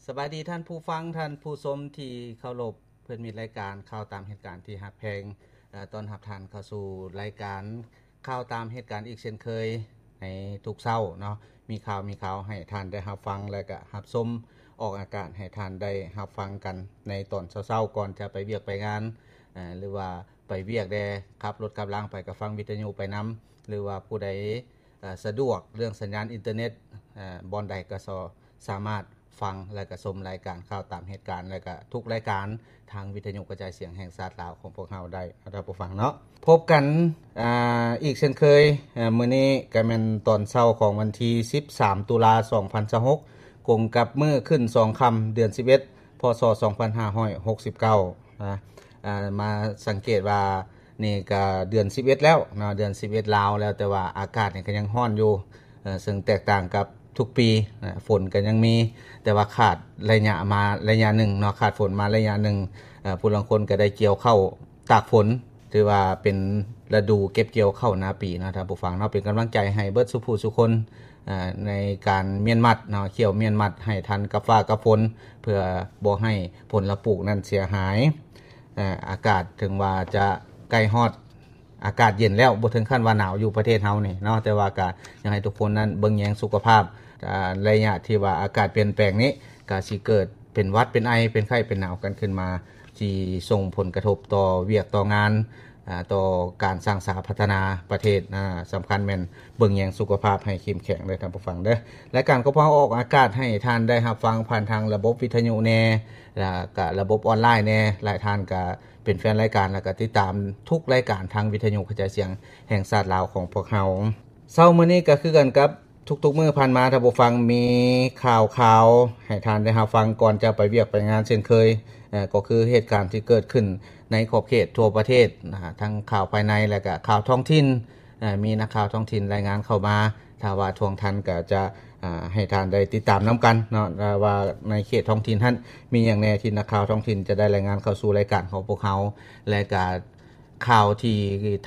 ສະບາຍດີທ່ານຜູ້ຟັງ, ທ່ານຜູ້ຊົມທີ່ເຄົາລົບ, ເພື່ອນມິດລາຍການຂ່າວຕາມເຫດການທີ່ຮັກແພງ. ເອີ ຕ້ອນຮັບທ່ານເຂົ້າສູ່ລາຍການຂ່າວຕາມເຫດການອີກເຊັ່ນເຄີຍໃນທຸກເຊົ້າເນາະ. ມີຂ່າວ, ມີຂ່າວໃຫ້ທ່ານໄດ້ຮັບຟັງ ແລະກະຮັບຊົມ, ອອກອາກາດໃຫ້ທ່ານໄດ້ຮັບຟັງກັນໃນຕອນເຊົ້າໆ ກ່ອນຈະໄປວຽກໄປງານ ເອີ ຫຼືວ່າໄປວຽກແດ່, ຂັບລົດຂັບລາໄປກໍຟັງວິທະຍຸໄປນຳ, ຫຼືວ່າຜູ້ໃດ ເອີ ສະດວກເລື່ອງສັນຍານອິນເຕີເນັດ ເອີ ບ່ອນໃດກໍສາມາດຟັງ ແລະກະຊົມລາຍການຂ່າວຕາມເຫດການ ແລະກະທຸກລາຍການທາງວິທະຍຸກະຈາຍສຽງແຫ່ງຊາດລາວຂອງພວກເຮົາໄດ້ ທ່ານຜູ້ຟັງເນາະ. ພົບກັນ ອາ ອີກເຊັ່ນເຄີຍ, ເອີ ມື້ນີ້ກະແມ່ນຕອນເຊົ້າຂອງວັນທີສິບສາມ ຕຸລາ ສອງພັນຊາວຫົກ ກົງກັບມື້ຂຶ້ນສອງຄ່ຳ ເດືອນສິບເອັດ ພ.ສ. ສອງພັນຫ້າຮ້ອຍຫົກສິບເກົ້າ ນະ. ອາ ມາສັງເກດວ່ານີ້ກະເດືອນສິບເອັດແລ້ວເນາະ, ເດືອນສິບເອັດລາວແລ້ວ, ແຕ່ວ່າອາກາດນີ້ກະຍັງຮ້ອນຢູ່ ເຊິ່ງແຕກຕ່າງກັບທຸກປີນະ. ຝົນກະຍັງມີ ແຕ່ວ່າຂາດໄລຍະມາໄລຍະໜຶ່ງເນາະ, ຂາດຝົນມາໄລຍະໜຶ່ງ. ເອີ ຜູ້ລາງຄົນກະໄດ້ກ່ຽວເຂົ້າຕາກຝົນ, ຖືວ່າເປັນລະດູເກັບກ່ຽວເຂົ້ານາປີເນາະ ທ່ານຜູ້ຟັງເນາະ. ເປັນກຳລັງໃຈໃຫ້ເບິດສູ່ຜູ້ສູ່ຄົນ ເອີ ໃນການມ້ຽນມັດເນາະ, ຂ້ຽວມ້ຽນມັດໃຫ້ທັນກັບຟ້າກັບຝົນ ເພື່ອບໍ່ໃຫ້ຜົນລະປູກນັ້ນເສຍຫາຍ. ເອີ ອາກາດເຖິງວ່າຈະໃກ້ຮອດ ອາກາດເຢັນແລ້ວ, ບໍ່ເຖິງຂັ້ນວ່າໜາວຢູ່ປະເທດເຮົານີ້ເນາະ, ແຕ່ວ່າກະຢາກໃຫ້ທຸກຄົນນັ້ນເບິ່ງແຍງສຸຂະພາບ. ອາ ໄລຍະທີ່ວ່າອາກາດປ່ຽນແປງນີ້ ກະຊິເກີດເປັນຫວັດເປັນໄອ ເປັນໄຂ້ເປັນໜາວກັນຂຶ້ນມາ ທີ່ສົ່ງຜົນກະທົບຕໍ່ວຽກຕໍ່ງານ ອາ ຕໍ່ການສ້າງສາພັດທະນາປະເທດ. ອາ ສຳຄັນແມ່ນເບິ່ງແຍງສຸຂະພາບໃຫ້ເຂັ້ມແຂງເດີ ທ່ານຜູ້ຟັງເດີ. ລາຍການຂອງພວກເຮົາອອກອາກາດໃຫ້ທ່ານໄດ້ຮັບຟັງຜ່ານທາງລະບົບວິທະຍຸແດ່ ແລະກະລະບົບອອນລາຍແດ່. ຫຼາຍທ່ານກະ ເປັນແຟນລາຍການ ແລະກະຕິດຕາມທຸກລາຍການທາງວິທະຍຸກະຈາຍສຽງແຫ່ງຊາດລາວຂອງພວກເຮົາ. ເຊົ້າມື້ນີ້ກະຄືກັນກັບທຸກໆມື້ຜ່ານມາ, ທ່ານຜູ້ຟັງ ມີຂ່າວຄາວໃຫ້ທ່ານໄດ້ຮັບຟັງກ່ອນຈະໄປວຽກໄປງານເຊັ່ນເຄີຍ. ເອີ ກໍຄືເຫດການທີ່ເກີດຂຶ້ນໃນຂອບເຂດທົ່ວປະເທດນະ, ທັງຂ່າວພາຍໃນ ແລະກະຂ່າວທ້ອງຖິ່ນ. ເອີ ມີນັກຂ່າວທ້ອງຖິ່ນລາຍງານເຂົ້າມາ, ຖ້າວ່າທວງທັນກະຈະ ອາ ໃຫ້ທ່ານໄດ້ຕິດຕາມນຳກັນເນາະ ວ່າໃນເຂດທ້ອງຖິ່ນຫັ້ນມີຫຍັງແດ່ທີ່ນັກຂ່າວທ້ອງຖິ່ນຈະໄດ້ລາຍງານເຂົ້າສູ່ລາຍການຂອງພວກເຮົາ ແລະກະຂ່າວທີ່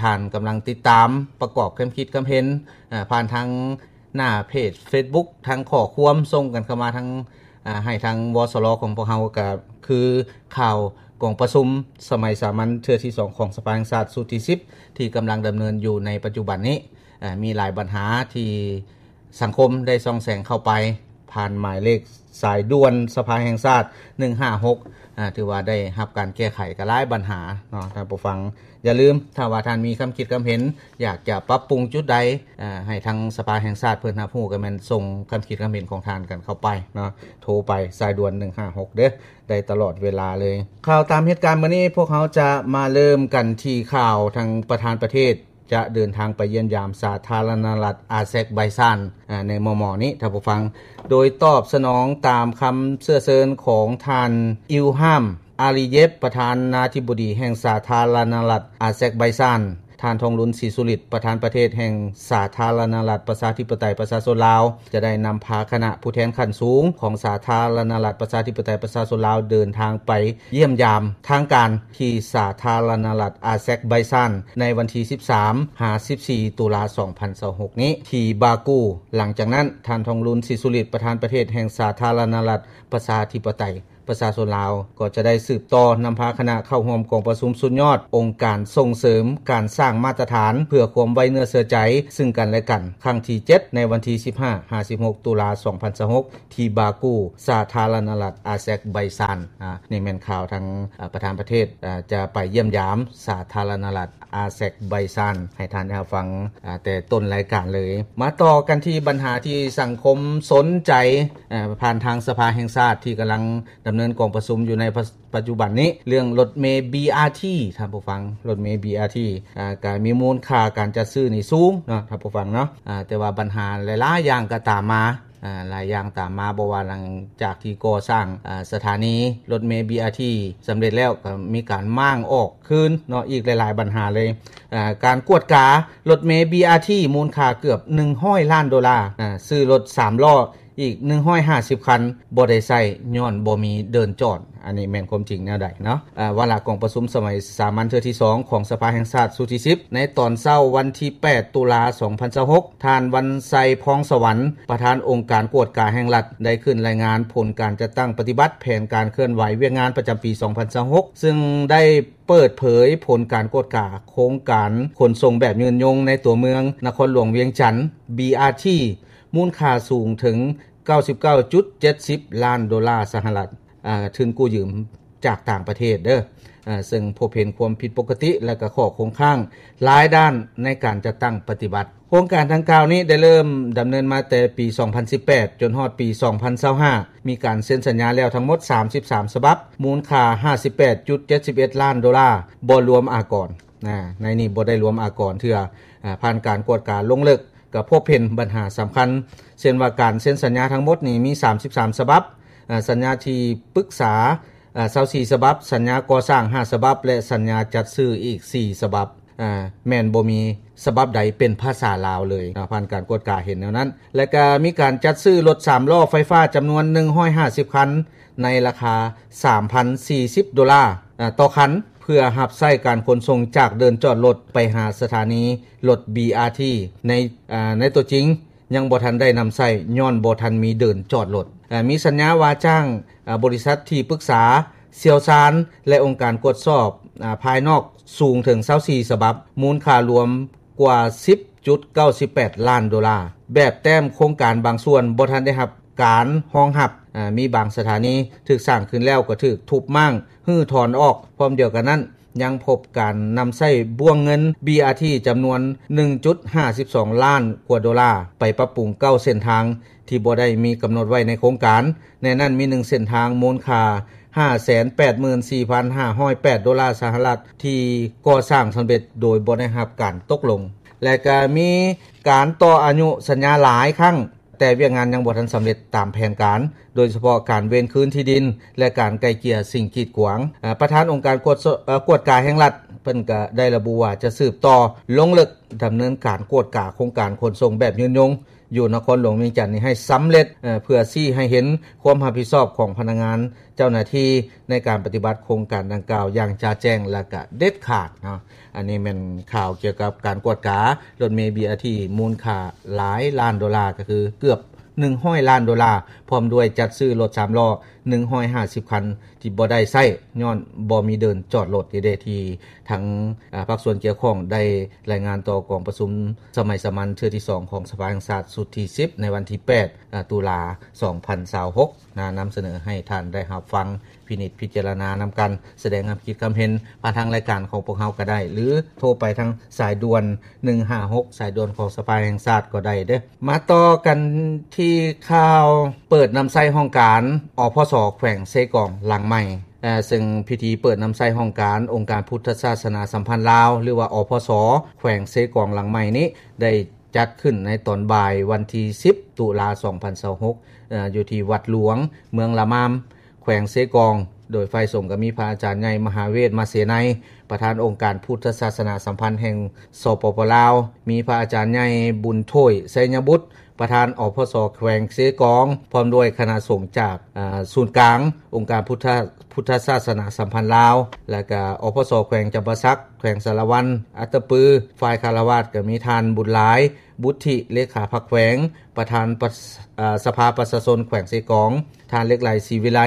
ທ່ານກຳລັງຕິດຕາມ ປະກອບຄຳຄິດຄຳເຫັນ ອາ ຜ່ານທາງໜ້າເພຈເຟສບຸກ ທາງຂໍ້ຄວາມສົ່ງກັນເຂົ້າມາທາງ ອາ ໃຫ້ທາງ ວສລ ຂອງພວກເຮົາ ກະຄືຂ່າວກອງປະຊຸມສະໄໝສາມັນເທື່ອທີສອງຂອງສະພາແຫ່ງຊາດຊຸດທີສິບ ທີ່ກຳລັງດຳເນີນຢູ່ໃນປັດຈຸບັນນີ້. ເອີ ມີຫຼາຍບັນຫາທີ່ສັງຄົມໄດ້ສ່ອງແສງເຂົ້າໄປ ຜ່ານໝາຍເລກສາຍດ່ວນສະພາແຫ່ງຊາດ ໜຶ່ງຫ້າຫົກ ເອີ ຖືວ່າໄດ້ຮັບການແກ້ໄຂກະຫຼາຍບັນຫາເນາະ ທ່ານຜູ້ຟັງ. ຢ່າລືມ ຖ້າວ່າທ່ານມີຄຳຄິດຄຳເຫັນ ຢາກຈະປັບປຸງຈຸດໃດ ເອີ ໃຫ້ທາງສະພາແຫ່ງຊາດເພິ່ນຮັບຮູ້ ກະແມ່ນສົ່ງຄຳຄິດຄຳເຫັນຂອງທ່ານກັນເຂົ້າໄປເນາະ, ໂທໄປສາຍດ່ວນ ໜຶ່ງຫ້າຫົກ ເດີ ໄດ້ຕະຫຼອດເວລາເລີຍ. ຂ່າວຕາມເຫດການມື້ນີ້ ພວກເຮົາຈະມາເລີ່ມກັນທີ່ຂ່າວທາງປະທານປະເທດ ຈະເດີນທາງໄປຢ້ຽມຢາມສາທາລະນະລັດອາແຊກໄບຊານ ອາ ໃນມໍ່ໆນີ້ ທ່ານຜູ້ຟັງ. ໂດຍຕອບສະໜອງຕາມຄຳເຊື້ອເຊີນຂອງທ່ານ ອິວຮາມ ອາລີເຢບ ປະທານາທິບໍດີແຫ່ງສາທາລະນະລັດອາແຊກໄບຊານ, ທ່ານ ທອງລຸນ ສີສຸລິດ ປະທານປະເທດແຫ່ງສາທາລະນະລັດປະຊາທິປະໄຕປະຊາຊົນລາວ ຈະໄດ້ນຳພາຄະນະຜູ້ແທນຂັ້ນສູງຂອງສາທາລະນະລັດປະຊາທິປະໄຕປະຊາຊົນລາວ ເດີນທາງໄປຢ້ຽມຢາມທາງການ ທີ່ສາທາລະນະລັດອາແຊກໄບຊານ ໃນວັນທີສິບສາມ ຫາ ສິບສີ່ ຕຸລາ ສອງພັນຊາວຫົກ ນີ້ ທີ່ບາກູ. ຫຼັງຈາກນັ້ນ ທ່ານ ທອງລຸນ ສີສຸລິດ ປະທານປະເທດແຫ່ງສາທາລະນະລັດປະຊາທິປະໄຕປະຊາຊົນລາວ ກໍຈະໄດ້ສືບຕໍ່ນຳພາຄະນະເຂົ້າຮ່ວມກອງປະຊຸມສຸດຍອດອົງການສົ່ງເສີມການສ້າງມາດຕະຖານເພື່ອຄວາມໄວ້ເນື້ອເຊື່ອໃຈຊຶ່ງກັນແລະກັນ ຄັ້ງທີເຈັດ ໃນວັນທີສິບຫ້າ ຫາ ສິບຫົກ ຕຸລາ ສອງພັນຊາວຫົກ ທີ່ບາກູ ສາທາລະນະລັດອາແຊກໄບຊານ. ອາ ນີ້ແມ່ນຂ່າວທາງ ອາ ປະທານປະເທດ ອາ ຈະໄປຢ້ຽມຢາມສາທາລະນະລັດອາແຊກໄບຊານ ໃຫ້ທ່ານໄດ້ຮັບຟັງ ອາ ແຕ່ຕົ້ນລາຍການເລີຍ. ມາຕໍ່ກັນທີ່ບັນຫາທີ່ສັງຄົມສົນໃຈ ອາ ຜ່ານທາງສະພາແຫ່ງຊາດ ທີ່ກຳລັງດຳເນີນກອງປະຊຸມຢູ່ໃນປະ ປັດຈຸບັນນີ້ ເລື່ອງລົດເມ ບີອາທີ ທ່ານຜູ້ຟັງ, ລົດເມ ບີອາທີ ອາ ກະມີມູນຄ່າການຈັດຊື້ນີ້ສູງເນາະ ທ່ານຜູ້ຟັງເນາະ. ອາ ແຕ່ວ່າບັນຫາຫຼາຍໆຢ່າງກະຕາມມາ ອາ ຫຼາຍຢ່າງຕາມມາ, ບໍ່ວ່າຫຼັງຈາກທີ່ກໍ່ສ້າງ ອາ ສະຖານີລົດເມ ບີອາທີ ສຳເລັດແລ້ວ ກະມີການມ້າງອອກຄືນເນາະ, ອີກຫຼາຍໆບັນຫາເລີຍ. ອາ ການກວດກາລົດເມ ບີອາທີ ມູນຄ່າເກືອບໜຶ່ງຮ້ອຍລ້ານໂດລາ, ອາ ຊື້ລົດສາມລໍ້ ອີກໜຶ່ງຮ້ອຍຫ້າສິບຄັນບໍ່ໄດ້ໃຊ້ ຍ້ອນບໍ່ມີເດີ່ນຈອດ. ອັນນີ້ແມ່ນຄວາມຈິງແນວໃດເນາະ? ວາລະກອງປະຊຸມສະໄໝສາມັນເທື່ອທີສອງຂອງສະພາແຫ່ງຊາດຊຸດທີສິບ ໃນຕອນເຊົ້າວັນທີແປດ ຕຸລາ ສອງພັນຊາວຫົກ ທ່ານ ວັນໄຊ ພອງສະຫວັນ ປະທານອົງການກວດກາແຫ່ງລັດ ໄດ້ຂຶ້ນລາຍງານຜົນການຈັດຕັ້ງປະຕິບັດແຜນການເຄື່ອນໄຫວວຽກງານປະຈຳປີສອງພັນຊາວຫົກ ຊຶ່ງໄດ້ເປີດເຜີຍຜົນການກວດກາໂຄງການຂົນສົ່ງແບບຍືນຍົງໃນຕົວເມືອງນະຄອນຫຼວງວຽງຈັນ ບີອາທີ ມູນຄ່າສູງເຖິງ ເກົ້າສິບເກົ້າຈຸດເຈັດສິບລ້ານໂດລາສະຫະລັດ ທຶນກູ້ຢືມຈາກຕ່າງປະເທດເດີ ເຊິ່ງພົບເຫັນຄວາມຜິດປົກກະຕິ ແລະ ກໍຂໍ້ຄົງຄ້າງຫຼາຍດ້ານໃນການຈັດຕັ້ງປະຕິບັດ. ໂຄງການດັ່ງກ່າວນີ້ໄດ້ເລີ່ມດຳເນີນມາແຕ່ປີສອງພັນສິບແປດ ຈົນຮອດປີສອງພັນຊາວຫ້າ ມີການເຊັນສັນຍາແລ້ວທັງໝົດສາມສິບສາມສະບັບ ມູນຄ່າຫ້າສິບແປດຈຸດເຈັດສິບເອັດລ້ານໂດລາ ບໍ່ລວມອາກອນ. ໃນນີ້ບໍ່ໄດ້ລວມອາກອນເທື່ອ. ຜ່ານການກວດກາລົງເລິກ ກໍພົບເຫັນບັນຫາສຳຄັນ ເຊັ່ນວ່າການເຊັນສັນຍາທັງໝົດນີ້ມີສາມສິບສາມສະບັບ, ສັນຍາທີ່ປຶກສາຊາວສີ່ສະບັບ, ສັນຍາກໍ່ສ້າງຫ້າສະບັບ ແລະ ສັນຍາຈັດຊື້ອີກສີ່ສະບັບ, ແມ່ນບໍ່ມີສະບັບໃດເປັນພາສາລາວເລີຍ. ຜ່ານການກວດກາເຫັນແນວນັ້ນ. ແລະ ກໍມີການຈັດຊື້ລົດສາມລໍ້ໄຟຟ້າຈຳນວນໜຶ່ງຮ້ອຍຫ້າສິບຄັນ ໃນລາຄາສາມພັນສີ່ສິບໂດລາຕໍ່ຄັນ ເພື່ອຮັບໃຊ້ການຂົນສົ່ງຈາກເດີ່ນຈອດລົດໄປຫາສະຖານີລົດ ບີອາທີ ໃນ ໃນຕົວຈິງ ຍັງບໍ່ທັນໄດ້ນຳໃຊ້ ຍ້ອນບໍ່ທັນມີເດີ່ນຈອດລົດ. ມີສັນຍາວ່າຈ້າງບໍລິສັດທີ່ປຶກສາຊ່ຽວຊານ ແລະ ອົງການກວດສອບພາຍນອກສູງເຖິງຊາວສີ່ສະບັບ, ມູນຄ່າລວມກວ່າສິບຈຸດເກົ້າສິບແປດລ້ານໂດລາ. ແບບແຕ້ມໂຄງການບາງສ່ວນບໍ່ທັນໄດ້ຮັບການຮອງຮັບ, ມີບາງສະຖານີຖືກສ້າງຂຶ້ນແລ້ວກໍຖືກທຸບມ້າງ, ຮື້ຖອນອອກ. ພ້ອມດຽວກັນນັ້ນ ຍັງພົບການນຳໃຊ້ບ້ວງເງິນ ບີອາທີ ຈຳນວນໜຶ່ງຈຸດຫ້າສິບສອງລ້ານກວ່າໂດລາ ໄປປັບປຸງເກົ້າເສັ້ນທາງທີ່ບໍ່ໄດ້ມີກຳນົດໄວ້ໃນໂຄງການ. ໃນນັ້ນມີໜຶ່ງເສັ້ນທາງມູນຄ່າຫ້າແສນແປດໝື່ນສີ່ພັນຫ້າຮ້ອຍແປດໂດລາສະຫະລັດ ທີ່ກໍ່ສ້າງສຳເລັດໂດຍບໍ່ໄດ້ຮັບການຕົກລົງ ແລະ ກໍມີການຕໍ່ອາຍຸສັນຍາຫຼາຍຄັ້ງ ແຕ່ວຽກງານຍັງບໍ່ທັນສຳເລັດຕາມແຜນການ, ໂດຍສະເພາະການເວນຄືນທີ່ດິນ ແລະ ການໄກ່ເກ່ຍສິ່ງກີດຂວາງ. ປະທານອົງການກວດ ເອີ ກວດກາແຫ່ງລັດ ເພິ່ນກໍໄດ້ລະບຸວ່າຈະສືບຕໍ່ລົງເລິກດຳເນີນການກວດກາໂຄງການຂົນສົ່ງແບບຍືນຍົງຢູ່ນະຄອນຫຼວງວຽງຈັນນີ້ໃຫ້ສຳເລັດ, ເພື່ອຊີ້ໃຫ້ເຫັນຄວາມຮັບຜິດຊອບຂອງພະນັກງານ ເຈົ້າໜ້າທີ່ໃນການປະຕິບັດໂຄງການດັ່ງກ່າວຢ່າງຈະແຈ້ງ ແລະ ກະເດັດຂາດເນາະ. ອັນນີ້ແມ່ນຂ່າວກ່ຽວກັບການກວດກາລົດເມ ບີອາທີ ມູນຄ່າຫຼາຍລ້ານໂດລາ ກໍຄືເກືອບໜຶ່ງຮ້ອຍລ້ານໂດລາ ພ້ອມດ້ວຍຈັດຊື້ລົດສາມລໍ້ໜຶ່ງຮ້ອຍຫ້າສິບຄັນທີ່ບໍ່ໄດ້ໃຊ້ ຍ້ອນບໍ່ມີເດີ່ນຈອດລົດນີ້ເດ້ ທີ່ທາງ ອາ ພາກສ່ວນກ່ຽວຂ້ອງໄດ້ລາຍງານຕໍ່ກອງປະຊຸມສະໄໝສາມັນເທື່ອທີສອງຂອງສະພາແຫ່ງຊາດຊຸດທີສິບ ໃນວັນທີແປດ ອາ ຕຸລາ ສອງພັນຊາວຫົກ ນະ ນຳສະເໜີໃຫ້ທ່ານໄດ້ຮັບຟັງ ພິນິດພິຈາລະນານຳກັນ, ສະແດງຄຳຄິດຄຳເຫັນຜ່ານທາງລາຍການຂອງພວກເຮົາກໍໄດ້ ຫຼື ໂທໄປທາງສາຍດ່ວນໜຶ່ງຫ້າຫົກ ສາຍດ່ວນຂອງສະພາແຫ່ງຊາດກໍໄດ້ເດີ້. ມາຕໍ່ກັນທີ່ຂ່າວເປີດນຳໃຊ້ຫ້ອງການ ອພສ ແຂວງເຊກອງຫຼັງໃໝ່. ເອີ ເຊິ່ງພິທີເປີດນຳໃຊ້ຫ້ອງການອົງການພຸດທະສາສະໜາສຳພັນລາວ ຫຼືວ່າ ອພສ ແຂວງເຊກອງຫຼັງໃໝ່ນີ້ ໄດ້ຈັດຂຶ້ນໃນຕອນບ່າຍວັນທີສິບ ຕຸລາ ສອງພັນຊາວຫົກ ເອີ ຢູ່ທີ່ວັດຫຼວງເມືອງລະມາມ ແຂວງເຊກອງ, ໂດຍຝ່າຍສົງກໍມີພະອາຈານໃຫຍ່ ມະຫາເວດ ມະເສໄນ ປະທານອົງການພຸດທະສາສະໜາສຳພັນແຫ່ງ ສປປ ລາວ, ມີພະອາຈານໃຫຍ່ ບຸນໂຖຍ ໄຊຍະບຸດ ປະທານ ອພສ ແຂວງເຊກອງ ພ້ອມດ້ວຍຄະນະສົງຈາກ ອາ ສູນກາງອົງການພຸດທະ ພຸດທະສາສະໜາສຳພັນລາວ ແລະ ກະ ອພສ ແຂວງຈຳປາສັກ, ແຂວງສາລະວັນ, ອັດຕະປື. ຝ່າຍຄາລະວາດກໍມີທ່ານ ບຸນຫຼາຍ ບຸດທິ ເລຂາພັກແຂວງ, ປະທານປະ ອາ ສະພາປະຊາຊົນແຂວງເຊກອງ, ທ່ານ ເລັກໄຫຼ ສີວິໄລ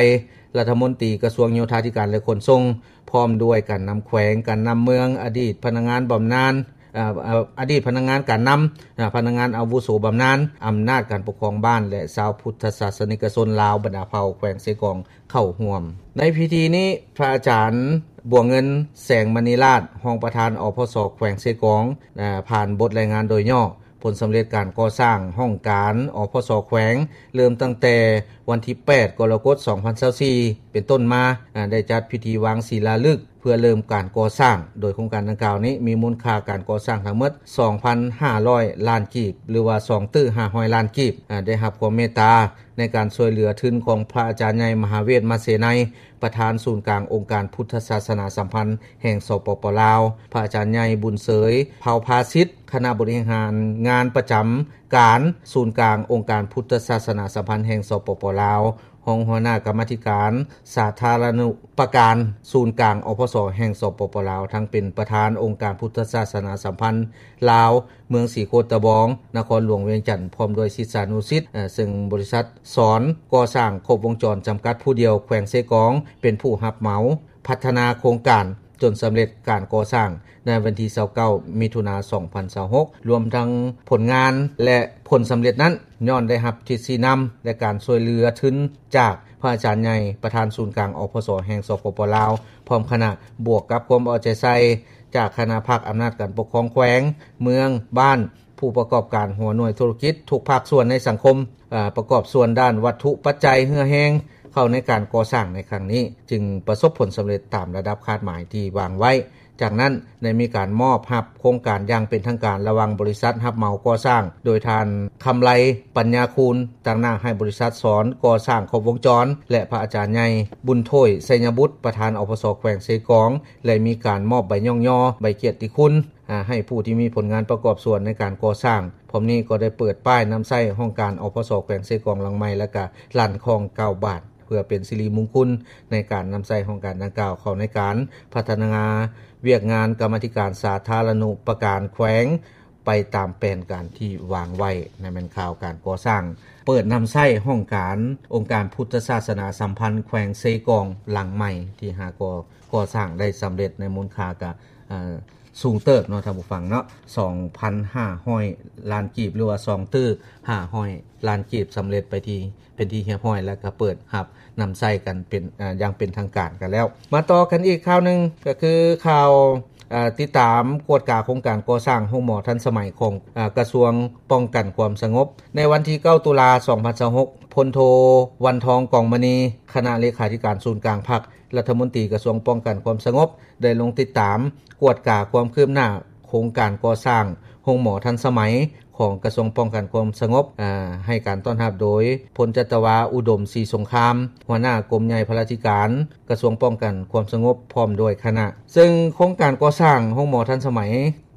ລັດຖະມົນຕີກະຊວງໂຍທາທິການ ແລະ ຂົນສົ່ງ, ພ້ອມດ້ວຍການນຳແຂວງ, ການນຳເມືອງ, ອະດີດພະນັກງານບຳນານ, ອາ ອາ ອະດີດພະນັກງານການນຳ, ອາ ພະນັກງານອາວຸໂສບຳນານ, ອຳນາດການປົກຄອງບ້ານ ແລະ ຊາວພຸດທະສາສະນິກະຊົນລາວບັນດາເຜົ່າແຂວງເຊກອງເຂົ້າຮ່ວມ. ໃນພິທີນີ້ ພະອາຈານ ບົວເງິນ ແສງມະນີລາດ ຮອງປະທານ ອພສ ແຂວງເຊກອງ ອາ ຜ່ານບົດລາຍງານໂດຍຫຍໍ້ ຜົນສຳເລັດການກໍ່ສ້າງຫ້ອງການ ອພສ ແຂວງ ເລີ່ມຕັ້ງແຕ່ວັນທີແປດ ກໍລະກົດ ສອງພັນຊາວສີ່ ເປັນຕົ້ນມາ, ອາ ໄດ້ຈັດພິທີວາງສີລາລຶກເພື່ອເລີ່ມການກໍ່ສ້າງ, ໂດຍໂຄງການດັ່ງກ່າວນີ້ມີມູນຄ່າການກໍ່ສ້າງທັງໝົດ ສອງພັນຫ້າຮ້ອຍລ້ານກີບ ຫຼືວ່າ ສອງຕື້ຫ້າຮ້ອຍລ້ານກີບ, ອາ ໄດ້ຮັບຄວາມເມດຕາໃນການຊ່ວຍເຫຼືອທຶນຂອງພະອາຈານໃຫຍ່ ມະຫາເວດ ມະເສໄນ ປະທານສູນກາງອົງການພຸດທະສາສະໜາສຳພັນແຫ່ງ ສປປ ລາວ, ພະອາຈານໃຫຍ່ ບຸນເສີຍ ເຜົ່າພາສິດ ຄະນະບໍລິຫານງານປະຈຳ ການສູນກາງອົງການພຸດທະສາສະໜາສຳພັນແຫ່ງ ສປປ ລາວ, ຮອງຫົວໜ້າກຳມາທິການສາທາລະນຸປະການສູນກາງ ອພສ ແຫ່ງ ສປປ ລາວ, ທັງເປັນປະທານອົງການພຸດທະສາສະໜາສຳພັນລາວ ເມືອງສີໂຄດຕະບອງ, ນະຄອນຫຼວງວຽງຈັນ ພ້ອມດ້ວຍສິດສານຸສິດ, ເຊິ່ງບໍລິສັດສອນກໍ່ສ້າງຄົບວົງຈອນຈຳກັດຜູ້ດຽວ ແຂວງເຊກອງ ເປັນຜູ້ຮັບເໝົາພັດທະນາໂຄງການ ຈົນສຳເລັດການກໍ່ສ້າງໃນວັນທີຊາວເກົ້າ ມິຖຸນາ ສອງພັນຊາວຫົກ ລວມທັງຜົນງານ ແລະ ຜົນສຳເລັດນັ້ນ ຍ້ອນໄດ້ຮັບທິດຊີ້ນຳ ແລະ ການຊ່ວຍເຫຼືອທຶນຈາກພະອາຈານໃຫຍ່ ປະທານສູນກາງ ອພສ ແຫ່ງ ສປປ ລາວ ພ້ອມຄະນະ, ບວກກັບຄວາມເອົາໃຈໃສ່ຈາກຄະນະພັກອຳນາດການປົກຄອງແຂວງ, ເມືອງ, ບ້ານ, ຜູ້ປະກອບການຫົວໜ່ວຍທຸລະກິດທຸກພາກສ່ວນໃນສັງຄົມ, ເອີ ປະກອບສ່ວນດ້ານວັດຖຸປັດໄຈເຫື່ອແຮງເຂົ້າໃນການກໍ່ສ້າງໃນຄັ້ງນີ້, ຈຶ່ງປະສົບຜົນສຳເລັດຕາມລະດັບຄາດໝາຍທີ່ວາງໄວ້. ຈາກນັ້ນໄດ້ມີການມອບຮັບໂຄງການຢ່າງເປັນທາງການລະຫວ່າງບໍລິສັດຮັບເໝົາກໍ່ສ້າງ ໂດຍທ່ານ ຄຳໄລ ປັນຍາຄູນ ຕາງໜ້າໃຫ້ບໍລິສັດສອນກໍ່ສ້າງຄົບວົງຈອນ ແລະ ພະອາຈານໃຫຍ່ ບຸນໂທຍ ໄຊຍະບຸດ ປະທານ ອພສ ແຂວງເຊກອງ ແລະ ມີການມອບໃບຍ້ອງຍໍ ໃບກຽດຕິຄຸນ ອາ ໃຫ້ຜູ້ທີ່ມີຜົນງານປະກອບສ່ວນໃນການກໍ່ສ້າງ. ພ້ອມນີ້ກໍໄດ້ເປີດປ້າຍນຳໃຊ້ຫ້ອງການ ອພສ ແຂວງເຊກອງຫຼັງໃໝ່ ແລະ ກະລັ່ນຄອງເກົ້າບາດ ເພື່ອເປັນສິລິມຸງຄຸນໃນການນຳໃຊ້ຫ້ອງການດັ່ງກ່າວເຂົ້າໃນການພັດທະນາວຽກງານກຳມາທິການສາທາລະນຸປະການແຂວງ ໄປຕາມແຜນການທີ່ວາງໄວ້. ນັ້ນແມ່ນຂ່າວການກໍ່ສ້າງ ເປີດນຳໃຊ້ຫ້ອງການອົງການພຸດທະສາສະໜາສຳພັນແຂວງເຊກອງຫຼັງໃໝ່ ທີ່ຫາກໍກໍ່ສ້າງໄດ້ສຳເລັດໃນມູນຄ່າກະ ເອີ ສູງເຕີບເນາະທ່ານຜູ້ຟັງເນາະ, ສອງພັນຫ້າຮ້ອຍລ້ານກີບ ຫຼືວ່າສອງຕື້ຫ້າຮ້ອຍລ້ານກີບ ສຳເລັດໄປທີ່ ເປັນທີ່ຮຽບຮ້ອຍ ແລະ ກໍເປີດຮັບນຳໃຊ້ກັນເປັນ ເອີ ຢ່າງເປັນທາງການກັນແລ້ວ. ມາຕໍ່ກັນອີກຂ່າວໜຶ່ງ ກໍຄືຂ່າວ ເອີ ຕິດຕາມກວດກາໂຄງການກໍ່ສ້າງໂຮງໝໍທັນສະໄໝຂອງ ເອີ ກະຊວງປ້ອງກັນຄວາມສະຫງົບ. ໃນວັນທີເກົ້າ ຕຸລາ ສອງພັນຊາວຫົກ ພົນໂທ ວັນທອງ ກອງມະນີ ຄະນະເລຂາທິການສູນກາງພັກ ລັດຖະມົນຕີກະຊວງປ້ອງກັນຄວາມສະຫງົບ ໄດ້ລົງຕິດຕາມກວດກາຄວາມຄືບໜ້າໂຄງການກໍ່ສ້າງໂຮງໝໍທັນສະໄໝຂອງກະຊວງປ້ອງກັນຄວາມສະຫງົບ, ອາ, ໃຫ້ການຕ້ອນຮັບໂດຍ ພົນຈັດຕະວາ ອຸດົມ ສີສົງຄາມ ຫົວໜ້າກົມໃຫຍ່ພະລາທິການກະຊວງປ້ອງກັນຄວາມສະຫງົບ ພ້ອມດ້ວຍຄະນະ. ເຊິ່ງໂຄງການກໍ່ສ້າງໂຮງໝໍທັນສະໄໝ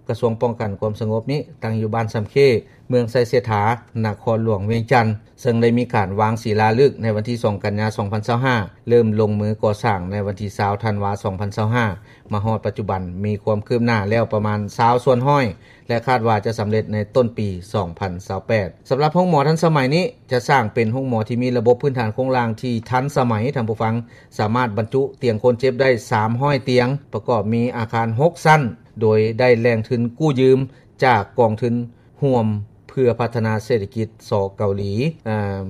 ກະຊວງປ້ອງກັນຄວາມສະຫງົບນີ້ ຕັ້ງຢູ່ບ້ານຊຳເຄ ເມືອງໄຊເສດຖາ ນະຄອນຫຼວງວຽງຈັນ, ເຊິ່ງໄດ້ມີການວາງສີລາລຶກໃນວັນທີສອງ ກັນຍາ ສອງພັນຊາວຫ້າ ເລີ່ມລົງມືກໍ່ສ້າງໃນວັນທີຊາວ ທັນວາ ສອງພັນຊາວຫ້າ ມາຮອດປັດຈຸບັນ ມີຄວາມຄືບໜ້າແລ້ວປະມານຊາວສ່ວນຮ້ອຍ ແລະ ຄາດວ່າຈະສຳເລັດໃນຕົ້ນປີ ສອງພັນຊາວແປດ. ສຳລັບໂຮງໝໍທັນສະໄໝນີ້ ຈະສ້າງເປັນໂຮງໝໍທີ່ມີລະບົບພື້ນຖານໂຄງລ່າງທີ່ທັນສະໄໝ, ທ່ານຜູ້ຟັງ, ສາມາດບັນຈຸຕຽງຄົນເຈັບໄດ້ສາມຮ້ອຍຕຽງ, ປະກອບມີອາຄານຫົກຊັ້ນ, ໂດຍໄດ້ແຫຼ່ງທຶນກູ້ຢືມຈາກກອງທຶນຮ່ວມເພື່ອພັດທະນາເສດຖະກິດ ສ ເກົາຫຼີ.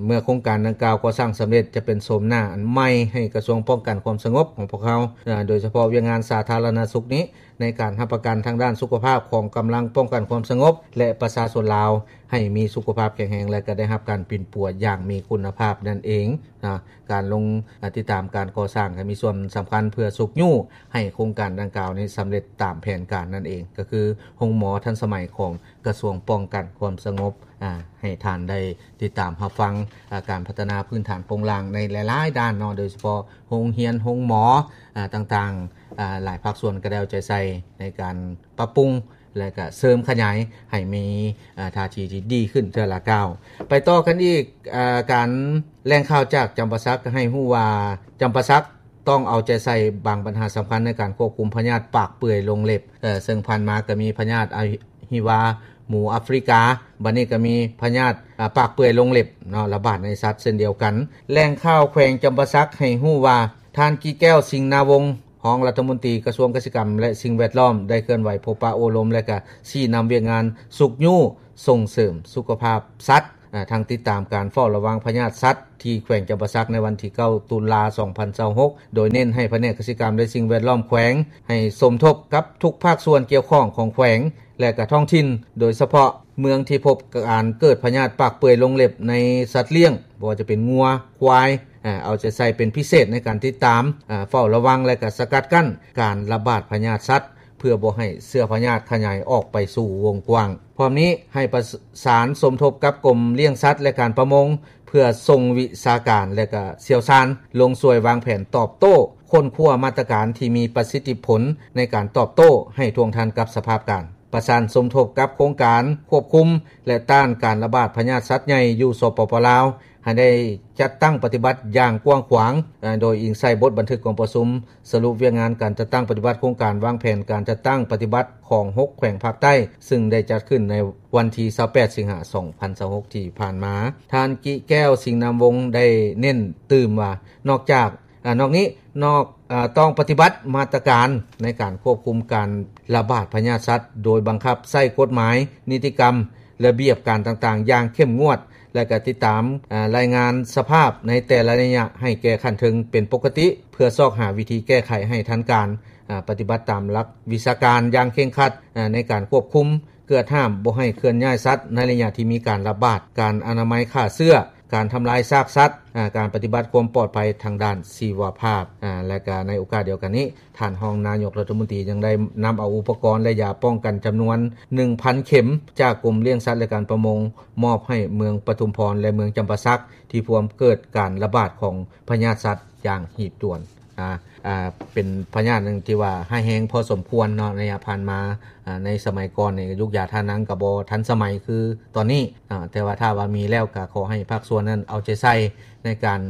ເມື່ອໂຄງການດັ່ງກ່າວກໍ່ສ້າງສຳເລັດ ຈະເປັນໂສມໜ້າອັນໃໝ່ໃຫ້ກະຊວງປ້ອງກັນຄວາມສະຫງົບຂອງພວກເຮົາ, ໂດຍສະເພາະວຽກງານສາທາລະນະສຸກນີ້ ໃນການຮັບປະກັນທາງດ້ານສຸຂະພາບຂອງກຳລັງປ້ອງກັນຄວາມສະຫງົບ ແລະ ປະຊາຊົນລາວ ໃຫ້ມີສຸຂະພາບແຂງແຮງ ແລະ ກໍໄດ້ຮັບການປິ່ນປົວຢ່າງມີຄຸນນະພາບນັ້ນເອງນະ. ການລົງ ອາ ຕິດຕາມການກໍ່ສ້າງ ກໍມີສ່ວນສຳຄັນເພື່ອຊຸກຍູ້ໃຫ້ໂຄງການດັ່ງກ່າວນີ້ສຳເລັດຕາມແຜນການນັ້ນເອງ, ກໍຄືໂຮງໝໍທັນສະໄໝຂອງກະຊວງປ້ອງກັນຄວາມສະຫງົບ, ອາ ໃຫ້ທ່ານໄດ້ຕິດຕາມຮັບຟັງ ອາ ການພັດທະນາພື້ນຖານໂຄງລ່າງໃນຫຼາຍໆດ້ານເນາະ, ໂດຍສະເພາະໂຮງຮຽນ, ໂຮງໝໍ ອາ ຕ່າງໆ, ອາ ຫຼາຍພາກສ່ວນກໍໄດ້ເອົາໃຈໃສ່ໃນການປັບປຸງ ແລະ ກະເສີມຂະຫຍາຍໃຫ້ມີ ອາ ທ່າທີທີ່ດີຂຶ້ນເທື່ອລະກ້າວ. ໄປຕໍ່ກັນອີກ, ອາ ການ ແຫຼ່ງຂ່າວຈາກຈຳປາສັກໃຫ້ຮູ້ວ່າ ຈຳປາສັກຕ້ອງເອົາໃຈໃສ່ບາງບັນຫາສຳຄັນໃນການຄວບຄຸມພະຍາດປາກເປື່ອຍລົງເລັບ, ເຊິ່ງຜ່ານມາກໍມີພະຍາດອະຫິວາໝູອາຟຣິກາ, ບັດນີ້ກໍມີພະຍາດ ອາ ປາກເປື່ອຍລົງເລັບເນາະ ລະບາດໃນສັດເຊັ່ນດຽວກັນ. ແຫຼ່ງຂ່າວແຂວງຈຳປາສັກໃຫ້ຮູ້ວ່າ ທ່ານ ກິແກ້ວ ສິງນາວົງ ຮອງລັດຖະມົນຕີກະຊວງກະສິກຳ ແລະ ສິ່ງແວດລ້ອມ ໄດ້ເຄື່ອນໄຫວພົບປະໂອ້ລົມ ແລະ ກະຊີ້ນຳວຽກງານຊຸກຍູ້ສົ່ງເສີມສຸຂະພາບສັດ, ທັງຕິດຕາມການເຝົ້າລະວັງພະຍາດສັດທີ່ແຂວງຈຳປາສັກໃນວັນທີເກົ້າ ຕຸລາ ສອງພັນຊາວຫົກ ໂດຍເນັ້ນໃຫ້ພະແນກກະສິກຳ ແລະ ສິ່ງແວດລ້ອມແຂວງ ໃຫ້ສົມທົບກັບທຸກພາກສ່ວນກ່ຽວຂ້ອງຂອງແຂວງ ແລະ ກະທ້ອງຖິ່ນ, ໂດຍສະເພາະເມືອງທີ່ພົບການເກີດພະຍາດປາກເປື່ອຍລົງເລັບໃນສັດລ້ຽງ, ບໍ່ວ່າຈະເປັນງົວ, ຄວາຍ, ເອົາໃຈໃສ່ເປັນພິເສດໃນການຕິດຕາມ, ເຝົ້າລະວັງ ແລະ ກະສະກັດກັ້ນການລະບາດພະຍາດສັດ ເພື່ອບໍ່ໃຫ້ເຊື້ອພະຍາດຂະຫຍາຍອອກໄປສູ່ວົງກວ້າງ. ພ້ອມນີ້ໃຫ້ປະສານສົມທົບກັບກົມລ້ຽງສັດ ແລະ ການປະມົງ ເພື່ອສົ່ງວິຊາການ ແລະ ກະຊ່ຽວຊານລົງຊ່ວຍວາງແຜນຕອບໂຕ້, ຄົ້ນຄວ້າມາດຕະການທີ່ມີປະສິດທິຜົນໃນການຕອບໂຕ້ໃຫ້ທ່ວງທັນກັບສະພາບການ. ປະສານສົມທົບກັບໂຄງການຄວບຄຸມ ແລະ ຕ້ານການລະບາດພະຍາດສັດໃຫຍ່ຢູ່ ສປປ ລາວ ໃຫ້ໄດ້ຈັດຕັ້ງປະຕິບັດຢ່າງກວ້າງຂວາງ, ໂດຍອີງໃສ່ບົດບັນທຶກກອງປະຊຸມສະຫຼຸບວຽກງານການຈັດຕັ້ງປະຕິບັດໂຄງການວາງແຜນການຈັດຕັ້ງປະຕິບັດຂອງຫົກແຂວງພາກໃຕ້, ຊຶ່ງໄດ້ຈັດຂຶ້ນໃນວັນທີຊາວແປດ ສິງຫາ ສອງພັນຊາວຫົກ ທີ່ຜ່ານມາ. ທ່ານ ກິແກ້ວ ສິງນາມວົງ ໄດ້ເນັ້ນຕື່ມວ່າ ນອກຈາກ ອາ ນອກນີ້ ນອກ ອາ ຕ້ອງປະຕິບັດມາດຕະການໃນການຄວບຄຸມການລະບາດພະຍາດສັດ ໂດຍບັງຄັບໃຊ້ກົດໝາຍ, ນິຕິກຳ, ລະບຽບການຕ່າງໆຢ່າງເຂັ້ມງວດ ແລະ ກະຕິດຕາມ ອາ ລາຍງານສະພາບໃນແຕ່ລະໄລຍະໃຫ້ແກ່ຂັ້ນເທິງເປັນປົກກະຕິ ເພື່ອຊອກຫາວິທີແກ້ໄຂໃຫ້ທັນການ, ອາ ປະຕິບັດຕາມຫຼັກວິຊາການຢ່າງເຄັ່ງຄັດ ອາ ໃນການຄວບຄຸມ ເກືອດຫ້າມບໍ່ໃຫ້ເຄື່ອນຍ້າຍສັດໃນໄລຍະທີ່ມີການລະບາດ, ການອະນາໄມຂ້າເຊື້ອ, ການທຳລາຍຊາກສັດ, ອາ ການປະຕິບັດຄວາມປອດໄພທາງດ້ານຊີວະພາບ ອາ ແລະ ກະໃນໂອກາດດຽວກັນນີ້ ທ່ານຮອງນາຍົກລັດຖະມົນຕີຍັງໄດ້ນຳເອົາອຸປະກອນ ແລະ ຢາປ້ອງກັນຈຳນວນໜຶ່ງພັນເຂັມ ຈາກກົມລ້ຽງສັດ ແລະ ການປະມົງ ມອບໃຫ້ເມືອງປະທຸມພອນ ແລະ ເມືອງຈຳປາສັກ ທີ່ພວມເກີດການລະບາດຂອງພະຍາດສັດຢ່າງຮີບດ່ວນ. ອາ ອາ ເປັນພະຍາດໜຶ່ງທີ່ວ່າຮ້າຍແຮງພໍສົມຄວນເນາະ ໄລຍະຜ່ານມາ. ອາ ໃນສະໄໝກ່ອນນີ້ ຢຸກຢາທານັງກໍບໍ່ທັນສະໄໝຄືຕອນນີ້, ອາ ແຕ່ວ່າຖ້າວ່າມີແລ້ວ ກໍຂໍໃຫ້ພາກສ່ວນນັ້ນເອົາໃຈໃສ່ໃນການ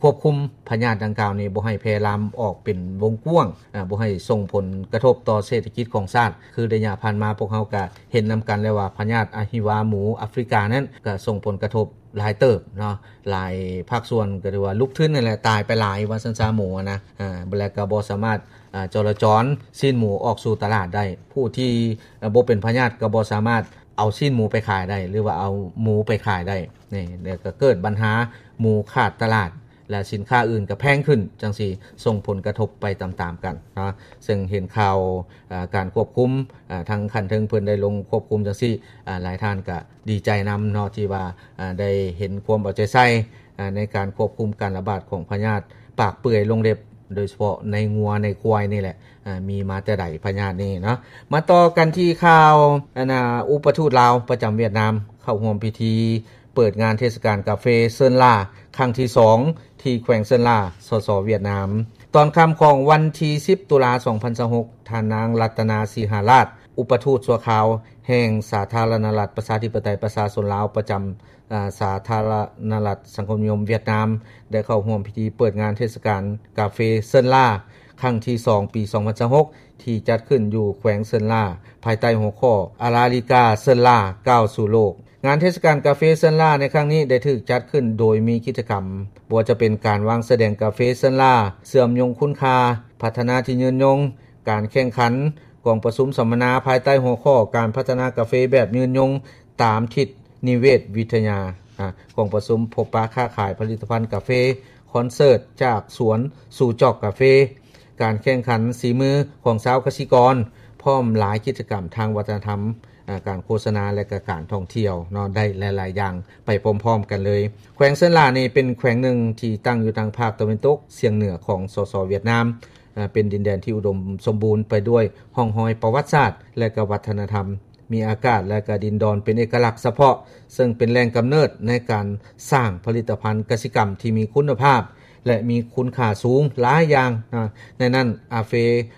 ຄວບຄຸມພະຍາດດັ່ງກ່າວນີ້ ບໍ່ໃຫ້ແຜ່ລາມອອກເປັນວົງກວ້າງ, ອາ ບໍ່ໃຫ້ສົ່ງຜົນກະທົບຕໍ່ເສດຖະກິດຂອງຊາດ. ຄືໄລຍະຜ່ານມາ ພວກເຮົາກໍເຫັນນຳກັນແລ້ວວ່າ ພະຍາດອະຫິວາໝູອາຟຣິການັ້ນ ກໍສົ່ງຜົນກະທົບ ຫຼາຍເຕີບເນາະ, ຫຼາຍພາກສ່ວນກໍຖືວ່າລຸກທຶນນັ້ນແຫຼະ ຕາຍໄປຫຼາຍວ່າຊັ້ນຊະ ໝູນະ. ອາ ແລ້ວກໍບໍ່ສາມາດ ອາ ຈໍລະຈອນຊີ້ນໝູອອກສູ່ຕະຫຼາດໄດ້. ຜູ້ທີ່ ອາ ບໍ່ເປັນພະຍາດກໍບໍ່ສາມາດເອົາຊີ້ນໝູໄປຂາຍໄດ້ ຫຼືວ່າເອົາໝູໄປຂາຍໄດ້. ນີ້ ແລ້ວກໍເກີດບັນຫາໝູຂາດຕະຫຼາດ ແລະ ສິນຄ້າອື່ນກໍແພງຂຶ້ນ ຈັ່ງຊີ້ສົ່ງຜົນກະທົບໄປຕາມໆກັນເນາະ. ເຊິ່ງເຫັນຂ່າວ ອາ ການຄວບຄຸມ ອາ ທາງຂັ້ນເທິງເພິ່ນໄດ້ລົງຄວບຄຸມຈັ່ງຊີ້ ອາ ຫຼາຍທ່ານກໍ ດີໃຈນຳເນາະ ທີ່ວ່າ ອາ ໄດ້ເຫັນຄວາມເອົາໃຈໃສ່ ອາ ໃນການຄວບຄຸມການລະບາດຂອງພະຍາດປາກເປື່ອຍລົງເລັບ ໂດຍສະເພາະໃນງົວໃນຄວາຍນີ້ແຫຼະ. ອາ ມີມາແຕ່ໃດພະຍາດນີ້ເນາະ. ມາຕໍ່ກັນທີ່ຂ່າວ ອັນນ່າ ອຸປະທູດລາວປະຈຳຫວຽດນາມ ເຂົ້າຮ່ວມພິທີເປີດງານເທດສະການກາເຟເຊີນລາ ຄັ້ງທີສອງ ທີ່ແຂວງເຊີນລາ ສສ ຫວຽດນາມ. ຕອນຄ່ຳຂອງວັນທີສິບ ຕຸລາ ສອງພັນຊາວຫົກ ທ່ານນາງ ລັດຕະນາ ສີຫາລາດ ອຸປະທູດຊົ່ວຄາວແຫ່ງສາທາລະນະລັດ ປະຊາທິປະໄຕ ປະຊາຊົນລາວ ປະຈຳ ອາ ສາທາລະນະລັດສັງຄົມນິຍົມຫວຽດນາມ ໄດ້ເຂົ້າຮ່ວມພິທີເປີດງານເທດສະການກາເຟເຊີນລາ ຄັ້ງທີສອງ ປີສອງພັນຊາວຫົກ ທີ່ຈັດຂຶ້ນຢູ່ແຂວງເຊີນລາ ພາຍໃຕ້ຫົວຂໍ້ ອາຣາລິກາເຊີນລາ ກ້າວສູ່ໂລກ. ງານເທດສະການກາເຟເຊີນລາໃນຄັ້ງນີ້ໄດ້ຖືກຈັດຂຶ້ນໂດຍມີກິດຈະກຳ ບໍ່ວ່າຈະເປັນການວາງສະແດງກາເຟເຊີນລາ ເຊື່ອມໂຍງຄຸນຄ່າ, ພັດທະນາທີ່ຍືນຍົງ, ການແຂ່ງຂັນ, ກອງປະຊຸມສຳມະນາພາຍໃຕ້ຫົວຂໍ້ ການພັດທະນາກາເຟແບບຍືນຍົງຕາມທິດນິເວດວິທະຍາ, ອາ ກອງປະຊຸມພົບປະຄ້າຂາຍຜະລິດຕະພັນກາເຟ, ຄອນເສີດຈາກສວນສູ່ຈອກກາເຟ, ການແຂ່ງຂັນສີມືຂອງຊາວກະສິກອນ, ພ້ອມຫຼາຍກິດຈະກຳທາງວັດທະນະທຳ, ອາ ການໂຄສະນາ ແລະ ກະການທ່ອງທ່ຽວເນາະ ໄດ້ຫຼາຍໆຢ່າງໄປພ້ອມໆກັນເລີຍ. ແຂວງເຊີນລານີ້ເປັນແຂວງໜຶ່ງທີ່ຕັ້ງຢູ່ທາງພາກຕາເວັນຕົກສຽງເໜືອຂອງ ສສ ຫວຽດນາມ, ເປັນດິນແດນທີ່ອຸດົມສົມບູນໄປດ້ວຍຮ່ອງຮອຍປະຫວັດສາດ ແລະ ກະວັດທະນະທຳ, ມີອາກາດ ແລະ ກະດິນດອນເປັນເອກະລັກສະເພາະ, ເຊິ່ງເປັນແຫຼ່ງກຳເນີດໃນການສ້າງຜະລິດຕະພັນກະສິກຳທີ່ມີຄຸນນະພາບ ແລະ ມີຄຸນຄ່າສູງຫຼາຍຢ່າງ, ໃນນັ້ນ ອາເຟ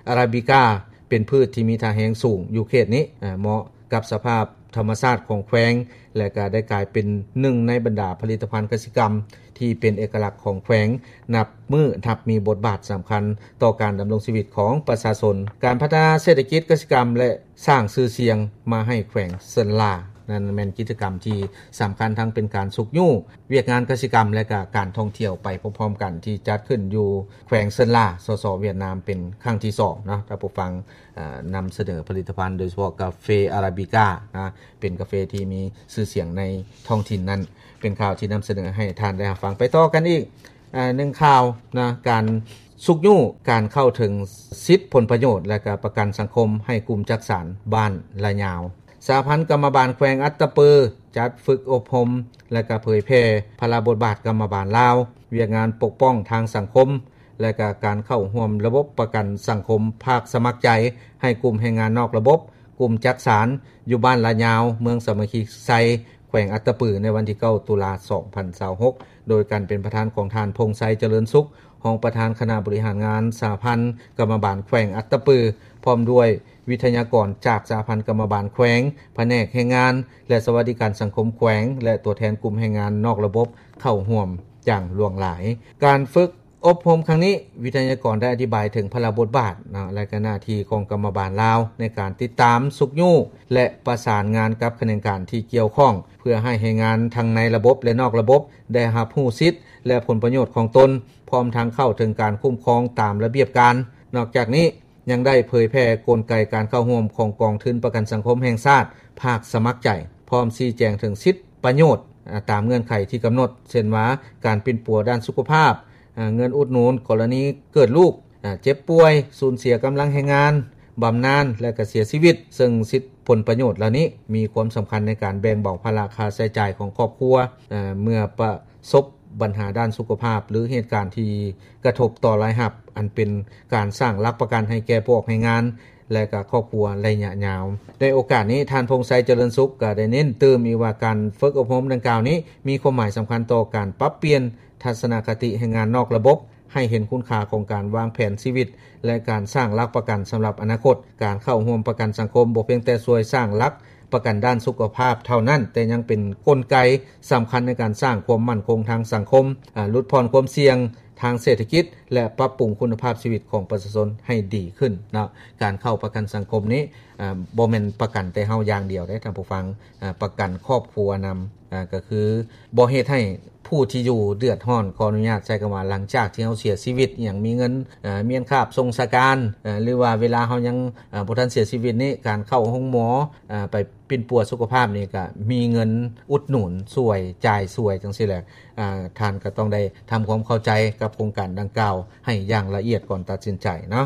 ອາຣາບິກາ ເປັນພືດທີ່ມີທ່າແຮງສູງຢູ່ເຂດນີ້, ເໝາະກັບສະພາບທຳມະຊາດຂອງແຂວງ ແລະ ກະໄດ້ກາຍເປັນໜຶ່ງໃນບັນດາຜະລິດຕະພັນກະສິກຳທີ່ເປັນເອກະລັກຂອງແຂວງ, ນັບມື້ນັບມີບົດບາດສຳຄັນຕໍ່ການດຳລົງຊີວິດຂອງປະຊາຊົນ, ການພັດທະນາເສດຖະກິດກະສິກຳ ແລະ ສ້າງຊື່ສຽງມາໃຫ້ແຂວງເຊີນລາ. ນັ້ນແມ່ນກິດຈະກຳທີ່ສຳຄັນ ທັງເປັນການຊຸກຍູ້ວຽກງານກະສິກຳ ແລະ ກະການທ່ອງທ່ຽວໄປພ້ອມໆກັນ ທີ່ຈັດຂຶ້ນຢູ່ແຂວງເຊີນລາ ສສ ຫວຽດນາມ ເປັນຄັ້ງທີສອງເນາະ. ທ່ານຜູ້ຟັງ ອາ ນຳສະເໜີຜະລິດຕະພັນ ໂດຍສະເພາະກາເຟອາຣາບິການະ ເປັນກາເຟທີ່ມີຊື່ສຽງໃນທ້ອງຖິ່ນນັ້ນ. ເປັນຂ່າວທີ່ນຳສະເໜີໃຫ້ທ່ານໄດ້ຮັບຟັງ. ໄປຕໍ່ກັນອີກ ອາ ໜຶ່ງຂ່າວນະ ການຊຸກຍູ້ການເຂົ້າເຖິງສິດຜົນປະໂຫຍດ ແລະ ກະປະກັນສັງຄົມໃຫ້ກຸ່ມຈັກສານບ້ານລະຍາວ. ສະຫະພັນກຳມະບານແຂວງອັດຕະປື ຈັດຝຶກອົບຮົມ ແລະ ກະເຜີຍແຜ່ພາລະບົດບາດກຳມະບານລາວ, ວຽກງານປົກປ້ອງທາງສັງຄົມ ແລະ ກະການເຂົ້າຮ່ວມລະບົບປະກັນສັງຄົມພາກສະໝັກໃຈໃຫ້ກຸ່ມແຮງງານນອກລະບົບ, ກຸ່ມຈັກສານ ຢູ່ບ້ານລະຍາວ ເມືອງສາມັກຄີໄຊ, ແຂວ ວງອັດຕະປື ໃນວັນທີເກົ້າ ຕຸລາ ສອງພັນຊາວຫົກ ໂດຍການເປັນປະທານຂອງທ່ານ ພົງໄຊ ຈະເລີນສຸກ ຮອງປະທານຄະນະບໍລິຫານງານສະຫະພັນກຳມະບານແຂວງອັດຕະປື ພ້ອມດ້ວຍວິທະຍາກອນຈາກສະຫະພັນກຳມະບານແຂວງ, ພະແນກແຮງງານ ແລະ ສະຫວັດດີການສັງຄົມແຂວງ ແລະ ຕົວແທນກຸ່ມແຮງງານນອກລະບົບເຂົ້າຮ່ວມຢ່າງຫຼວງຫຼາຍ. ການຝຶກ ອົບຮົມຄັ້ງນີ້, ວິທະຍາກອນໄດ້ອະທິບາຍເຖິງພາລະບົດບາດເນາະ ແລະ ກະໜ້າທີ່ຂອງກຳມະບານລາວ ໃນການຕິດຕາມ, ຊຸກຍູ້ ແລະ ປະສານງານກັບຂະແໜງການທີ່ກ່ຽວຂ້ອງ ເພື່ອໃຫ້ແຮງງານທັງໃນລະບົບ ແລະ ນອກລະບົບ ໄດ້ຮັບຮູ້ສິດ ແລະ ຜົນປະໂຫຍດຂອງຕົນ, ພ້ອມທັງເຂົ້າເຖິງການຄຸ້ມຄອງຕາມລະບຽບການ. ນອກຈາກນີ້, ຍັງໄດ້ເຜີຍແຜ່ກົນໄກການເຂົ້າຮ່ວມຂອງກອງທຶນປະກັນສັງຄົມແຫ່ງຊາດ ພາກສະໝັກໃຈ, ພ້ອມຊີ້ແຈງເຖິງສິດປະໂຫຍດ ອາ ຕາມເງື່ອນໄຂທີ່ກຳນົດ, ເຊັ່ນວ່າ ການປິ່ນປົວດ້ານສຸຂະພາບ, ອາ ເງິນອຸດໜູນກໍລະນີເກີດລູກ, ອາ ເຈັບປ່ວຍ, ສູນເສຍກຳລັງແຮງງານ, ບຳນານ ແລະ ກະເສຍຊີວິດ, ເຊິ່ງສິດຜົນປະໂຫຍດເຫຼົ່ານີ້ມີຄວາມສຳຄັນໃນການແບ່ງເບົາພາລະຄ່າໃຊ້ຈ່າຍຂອງຄອບຄົວ, ອາ ເມື່ອປະສົບບັນຫາດ້ານສຸຂະພາບ ຫຼື ເຫດການທີ່ກະທົບຕໍ່ລາຍຮັບ, ອັນເປັນການສ້າງຫຼັກປະກັນໃຫ້ແກ່ພວກແຮງງານ ແລະ ກະຄອບຄົວໄລຍະຍາວ. ໃນໂອກາດນີ້, ທ່ານ ພົງໄຊ ຈະເລີນສຸກ ກະໄດ້ເນັ້ນຕື່ມອີກວ່າ ການຝຶກອົບຮົມດັ່ງກ່າວນີ້ ມີຄວາມໝາຍສຳຄັນຕໍ່ການປັບປ່ຽນທັດສະນະຄະຕິແຮງງານນອກລະບົບ, ໃຫ້ເຫັນຄຸນຄ່າຂອງການວາງແຜນຊີວິດ ແລະ ການສ້າງຫຼັກປະກັນສຳລັບອະນາຄົດ. ການເຂົ້າຮ່ວມປະກັນສັງຄົມບໍ່ພຽງແຕ່ຊ່ວຍສ້າງຫຼັກປະກັນດ້ານສຸຂະພາບເທົ່ານັ້ນ, ແຕ່ຍັງເປັນກົນໄກສຳຄັນໃນການສ້າງຄວາມໝັ້ນຄົງທາງສັງຄົມ, ອາ, ຫຼຸດຜ່ອນຄວາມສ່ຽງທາງເສດຖະກິດ ແລະ ປັບປຸງຄຸນນະພາບຊີວິດຂອງປະຊາຊົນໃຫ້ດີຂຶ້ນເນາະ. ການເຂົ້າປະກັນສັງຄົມນີ້, ອາ, ບໍ່ແມ່ນປະກັນແຕ່ເຮົາຢ່າງດຽວເດ້ທ່ານຜູ້ຟັງ, ອາ, ປະກັນຄອບຄົວນຳ, ອາ, ກໍຄືບໍ່ເຮັດໃຫ້ ຜູ້ທີ່ຢູ່ເດືອດຮ້ອນ, ຂໍອະນຸຍາດໃຊ້ຄຳວ່າ ຫຼັງຈາກທີ່ເຮົາເສຍຊີວິດ, ຫຍັງມີເງິນ, ເອີ, ມ້ຽນຄາບສົ່ງສາການ, ເອີ, ຫຼືວ່າເວລາເຮົາຍັງ, ເອີ, ບໍ່ທັນເສຍຊີວິດນີ້, ການເຂົ້າໂຮງໝໍ, ເອີ, ໄປປິ່ນປົວສຸຂະພາບນີ້ ກະມີເງິນອຸດໜູນຊ່ວຍ, ຈ່າຍຊ່ວຍ ຈັ່ງຊີ້ແຫຼະ. ເອີ, ທ່ານກໍຕ້ອງໄດ້ທຳຄວາມເຂົ້າໃຈກັບໂຄງການດັ່ງກ່າວໃຫ້ຢ່າງລະອຽດກ່ອນຕັດສິນໃຈເນາະ.